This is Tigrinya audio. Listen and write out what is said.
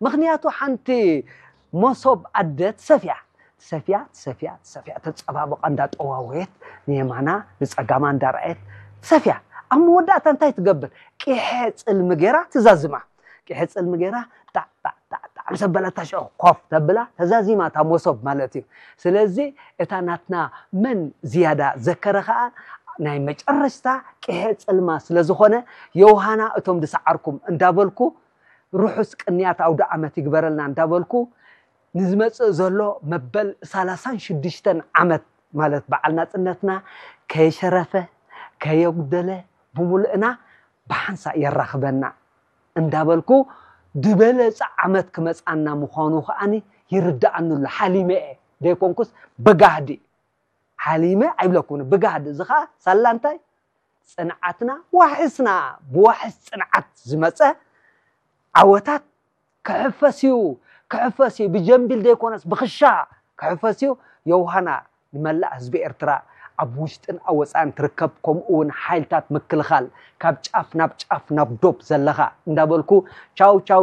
ምኽንያቱ ሓንቲ መሶብ ኣደ ትሰፍያ ትሰፍያ ትሰፍያ ትሰፍያ ተፀባብቓ እንዳጠዋወየት ንየማና ንፀጋማ እንዳረኣየት ትሰፍያ። ኣብ መወዳእታ እንታይ ትገብር? ቂሐ ፅልሚ ገይራ ትዛዝማ። ቂሐ ፅልሚ ገይራ ጣዕ ጣዕ ጣዕ ጣዕ ምስ ኣበለታ ሽዑ ኮፍ ተብላ ተዛዚማ እታ መሶብ ማለት እዩ። ስለዚ እታ ናትና መን ዝያዳ ዘከረ ከዓ ናይ መጨረሽታ ቂሐ ፅልማ ስለ ዝኾነ ዮሃና እቶም ዝሰዓርኩም እንዳበልኩ ርሑስ ቅንያት ኣውደ ዓመት ይግበረልና እንዳበልኩ ንዝመፅእ ዘሎ መበል ሰላሳን ሽዱሽተን ዓመት ማለት በዓል ናፅነትና ከየሸረፈ ከየጉደለ ብምሉእና ብሓንሳእ የራኽበና እንዳበልኩ ዝበለፀ ዓመት ክመፃና ምዃኑ ከዓኒ ይርዳኣኒ ኣሎ። ሓሊመ እየ ዘይኮንኩስ ብጋህዲ ሓሊመ ኣይብለኩምን። ብጋህዲ እዚ ከዓ ሳላ እንታይ ፅንዓትና ዋሕስና ብዋሕስ ፅንዓት ዝመፀ ዓወታት ክሕፈስ እዩ ክሕፈስ እዩ ብጀምቢል ዘይኮነስ ብክሻ ክሕፈስ እዩ። የውሃና ንመላእ ህዝቢ ኤርትራ ኣብ ውሽጥን ኣብ ወፃእን ትርከብ ከምኡ እውን ሓይልታት ምክልኻል ካብ ጫፍ ናብ ጫፍ ናብ ዶብ ዘለኻ እንዳበልኩ ቻው ቻው